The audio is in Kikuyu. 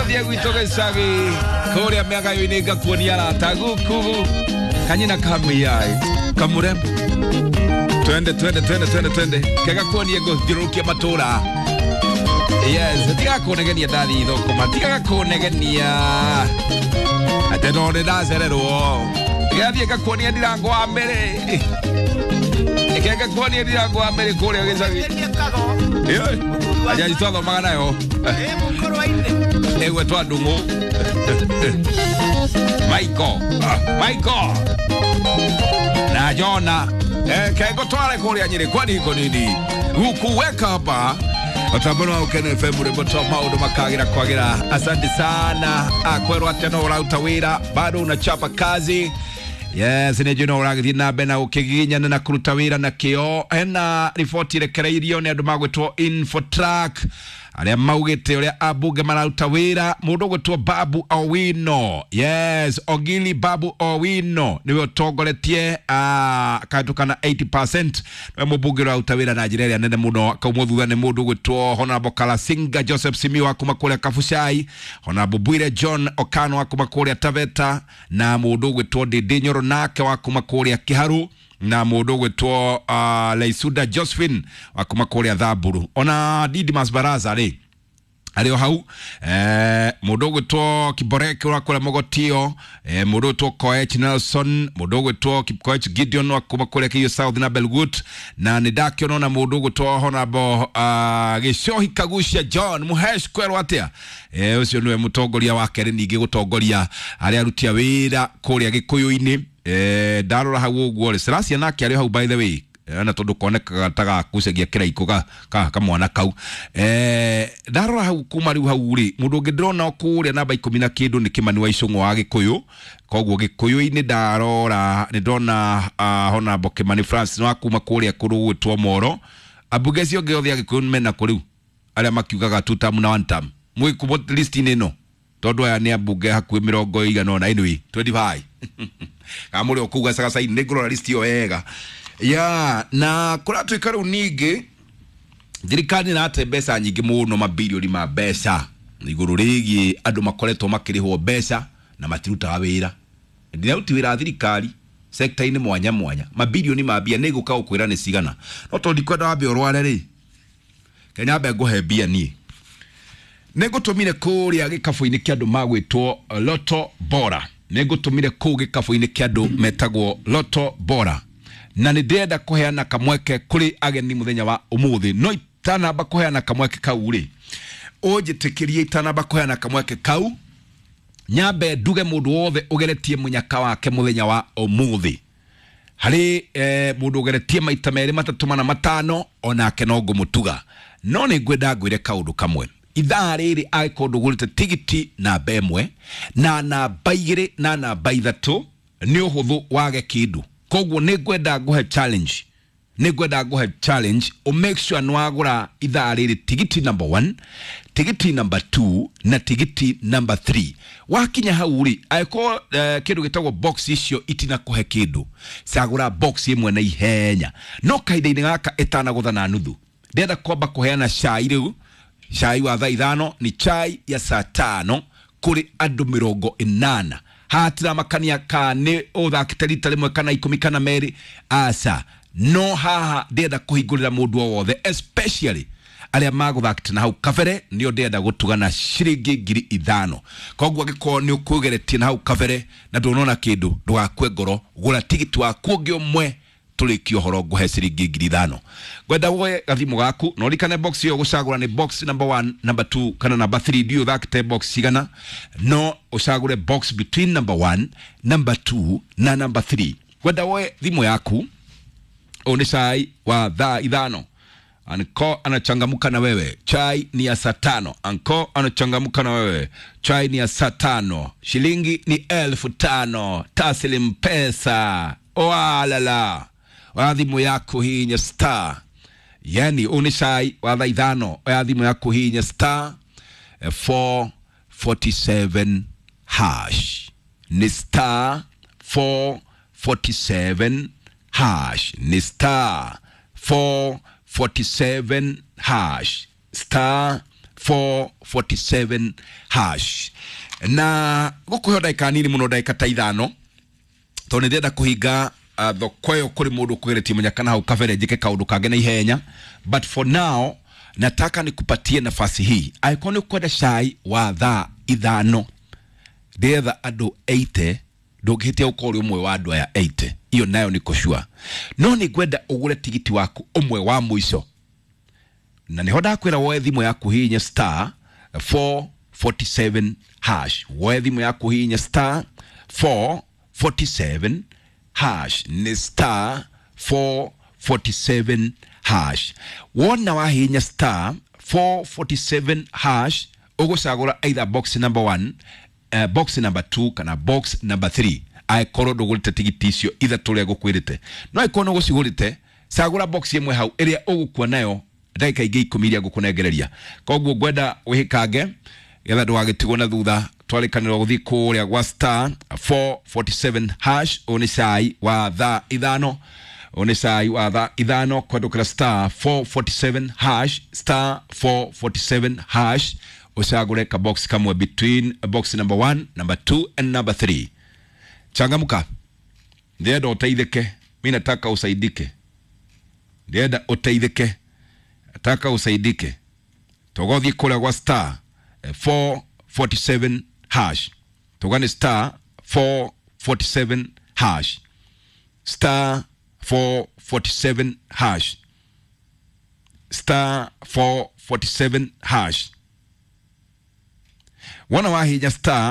Tũthiĩ gwitũ gĩcagi kũrĩa mĩagayo-inĩ ngakuonia arata guku kanyina kamuyai kamurembo. Twende twende twende twende twende kega kuonie ngũthiũrũrũkia matũra. Yes, tiga kũnegenia ndathi thũkũma, tiga kũnegenia atĩ no nĩ ndacererwo. Ngathiĩ ngakuonia ndirango wa mbere, kega kuonia ndirango wa mbere kũrĩa gĩcagi. Ajaji twathomaga nayo ĩgwetwa Ndung'u Michael, Michael na Jona. Kengo tware kũrĩa Nyĩrĩ kwani iko nini gukuweka hapa Otambona wa Ukene FM rwĩmbo twa maũndũ makagira kwagira. Asante sana akwerwo atĩ no ũraruta wĩra bado unachapa kazi. Yes, nĩ njũĩ no ũragĩthiĩ na mbere na gũkĩgiginyana na kũruta wĩra na kĩo. Hena riboti ĩrekereirio nĩ andũ magwĩtwo Infotrack arĩa maugĩte ũrĩa ambunge mararuta wĩra. Mũndũ ũgwĩtwo Babu Owino, yes, Ogili Babu Owino nĩwe ũtongoretie akahĩtũka na 80%, nĩwe mũmbunge ũraruta wĩra na njĩra ĩrĩa nene mũno. Akaumwo thutha nĩ mũndũ ũgwĩtwo Honorable Kalasinga Joseph Simiyu wa kuma kũrĩa Kabuchai, Honorable Bwire John Okano wa kuma kũrĩa Taveta, na mũndũ ũgwĩtwo Ndindi Nyoro nake wa kuma kũrĩa Kiharu, na mũndũ ũgwĩtwo Leisuda Josephine wa kuma kũrĩa Thamburu. Ona Didmas Baraza rĩ arĩ o hau, mũndũ ũgwĩtwo Kiboreke wa kũrĩa Mogotio, mũndũ ũgwĩtwo Koech Nelson, mũndũ ũgwĩtwo Kipkoech Gideon wa kuma kũrĩa Keiyo South na Belgut, na nĩ ndakĩona ona mũndũ ũgwĩtwo Honorable Gĩcohi Kagucia John Muhesh kwerwo atĩa, ũcio nĩwe mũtongoria wa kerĩ ningĩ gũtongoria arĩa aruti a wĩra kũrĩa Gĩkũyũ-inĩ. Ndarora hau ũguo rĩ, Selasia nake arĩ hau by the way, na tondũ konekaga ta gakucagia kĩraikũ ka kamwana kau. Ndarora hau kuma rĩu hau rĩ, mũndũ ũngĩ ndĩrona kũrĩa namba ikũmi na kĩndũ nĩ Kĩmani wa Icũng'wa wa Gĩkũyũ. Koguo Gĩkũyũ-inĩ ndarora nĩ ndona Honorable Kĩmani Francis wa kuma kũrĩa kũndũ gwĩtwo Moro. Ambunge acio angĩ othe a Gĩkũyũ mena kũ rĩu arĩa makiugaga two term na one term mwĩ kũ list-inĩ ĩno, tondũ aya nĩ ambunge hakuhĩ mĩrongo ĩigana ũna, anyway 25 kana mũrĩ o kũu gacagaca-inĩ. Nĩ ngũrora list ĩyo wega ya na kũratuĩka rĩu ningĩ thirikari nĩ ĩrate mbeca nyingĩ mũno, mabirioni ma mbeca igũrũ rĩgiĩ andũ makoretwo makĩrĩhwo mbeca na matirutaga wĩra. Ndiraruti wĩra thirikari sekta-inĩ mwanya mwanya, mabirioni ma mbia. Nĩ ngũka gũkwĩra nĩ cigana, no tondũ ndikwenda wambe ũrware rĩ, ke nyambe ngũhe mbia niĩ. Nĩ ngũtũmire kũrĩa gĩkabũ-inĩ kĩa andũ magwĩtwo Loto Bora, nĩ ngũtũmire kũu gĩkabũ-inĩ kĩa andũ metagwo Loto Bora, na nĩ ndĩrenda kũheana kamweke kũrĩ ageni mũthenya wa ũmũthĩ. No itanamba kũheana kamweke kau rĩ, ũnjĩtĩkĩrie itanamba kũheana kamweke kau nyambe nduge mũndũ wothe ũgeretie mũnyaka wake mũthenya wa ũmũthĩ. Harĩ mũndũ ũgeretie maita merĩ matatũ mana matano, onake no ngũmũtuga. No nĩ ngwenda ngwĩre kaũndũ kamwe ithaa rĩrĩ, angĩkorwo ndũgũrĩte tigiti namba ĩmwe na namba igĩrĩ na namba ithatũ, nĩ ũhũthũ wage kĩndũ. Koguo nĩ ngwenda ngũhe challenge, nĩ ngwenda ngũhe challenge ũ make sure nĩ wagũra ithaa rĩrĩ tigiti number 1, tigiti number 2 na tigiti number 3. Wakinya hau rĩ, angĩkorwo kĩndũ gĩtagwo box icio itinakũhe kĩndũ, cagũra box ĩmwe na ihenya. No kahinda-inĩ gaka ĩtanagũtha na nuthu, ndĩrenda kwamba kũheana cai rĩu. Cai wa thaa ithano ni chai ya saa tano kũrĩ andũ 80. Hatiramakania ka nĩ ũthakĩte rita rĩmwe kana ikũmi kana merĩ, aca. No haha ndĩrenda kũhingũrĩra mũndũ o wothe, especially arĩa magũthakĩte na hau kabere, nĩo ndĩrenda gũtuga na ciringi 5,000. Koguo angĩkorwo nĩ ũkwĩgeretie na hau kabere na ndũnona kĩndũ, ndũgakue ngoro, gũra tigiti waku ũngĩ ũmwe, tũrĩkie ũhoro ngũhe ciringi 5,000. Ngwenda woe gathimũ gaku na ũririkane box ĩyo gũcagũra nĩ box number 1, number 2 kana number 3. Ndiũĩ ũthakĩte box cigana, no ũcagũre box between number 1, number 2 na number 3. Ngwenda woe thimũ yaku. Ũyũ nĩ cai wa thaa ithano. Anko anachangamuka na wewe, chai ni ya saa tano. Anko anachangamuka na wewe, chai ni ya saa tano. Shilingi ni 5,000 taslim pesa. Oalala, oya thimũ yaku hinya star, yani ũyũ nĩ cai wa thaa ithano. Oya thimũ yaku hinya star 447 hash, ni star 447 hash, ni star 447 hash, star. 447 hash. Na gũkũheo ndagĩka nini mũno, ndagĩka ta 5, tondũ nĩ ndĩrenda kũhinga thoko ĩyo kũrĩ mũndũ ũkũgeretie mũnyaka na hau kabere njĩke kaũndũ kangĩ na ihenya. But for now nataka nikupatie nafasi hii. Angĩkorwo nĩ ũkwenda cai wa thaa 5, ndĩretha andũ 80, ndũngĩhĩtia gũkorwo ũrĩ ũmwe wa andũ aya 80, iyo nayo nĩ kũcua. No nĩ ngwenda ũgũre tigiti waku ũmwe wa mũico, na nĩho ndakwĩra woe thimũ yaku hihinye star 447 hash. Woe thimũ yaku hihinye star 447 hash, nĩ star 447 hash. Wona wahihinya star 447 hash, ũgũcagũra either box number 1, box number 2 kana box number 3, angĩkorwo ndũgũrĩte tigiti icio ithatũ ũrĩa ngũkwĩrĩte. No angĩkorwo nĩ ũgũcigũrĩte, cagũra box ĩmwe hau ĩrĩa ũgũkua nayo ndagĩka ingĩ 10 iria ngũkũnengereria. Koguo ngwenda wĩhĩkange getha ndũgagĩtigwo na thutha. Twarĩkanĩrwo gũthiĩ kũrĩa gwa star 447 hash. Ũyũ nĩ cai wa thaa 5, ũyũ nĩ cai wa thaa 5 kwendũkĩra star 447 hash, star 447 hash, ũcagũre ka box kamwe between box number 1, number 2 and number 3. Changamka, ndĩrenda ũteithĩke. Mi nataka usaidike, ndĩrenda ũteithĩke, nataka usaidike. Tũgothiĩ kũrĩa gwa star 447 hash, tũgane star 447 hash, star 447 hash, star 447 hash. Wona wahinya star